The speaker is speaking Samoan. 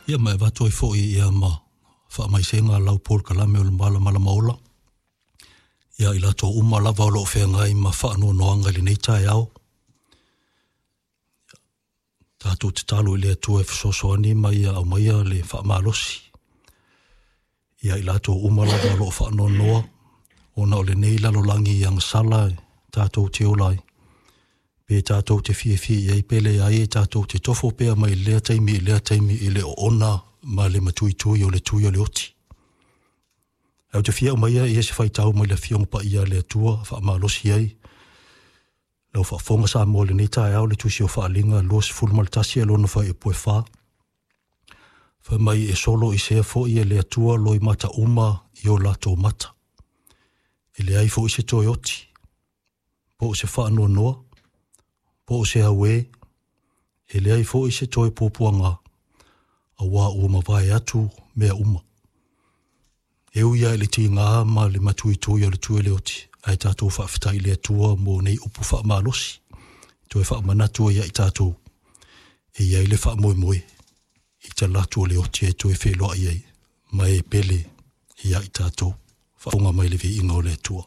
Ia ma e avatu ai foi ia ma faamaisega lau polokalame o le Malamalama Ola ia i latou uma lava o lo o feagai ma faanoanoaga i lenei taeao. Tatou tatalo i le Atua e fesoasoani ma ia aumaia le faamalosi ia i latou uma lava o lo o faanoanoa ona o lenei lalolagi agasala tatou te ola ai. Pe tatou te fiafia i ai pe leai, e tatou te tofo pea mai lea taimi i lea taimi i le oona ma le matuitui o le tui o le oti. Ae ou te fia aumaia ia se faitau mai le Afioga Paia a le Atua faamalosi ai lau faafofoga Samoa i lenei taeao, le Tusi o Faaaliga 21 e lona fuaiupu e 4. Fai mai e solo i sea foi e le Atua loimata uma i o latou mata. E leai foi se toe oti, po o se faanoanoa, po o se auē, e leai foi se toe puapuaga, auā ua mavae atu mea uma. E ui lava i le tiga ma le matuitui o le tui o le oti, ae tatou faafetai i le Atua mo nei upu faamalosi, toe faamanatu ai ia i tatou, e i ai le faamoemoe i talaatu o le oti e toe feiloai ai ma e pele ia i tatou. Faafofoga mai i le viiga o le Atua.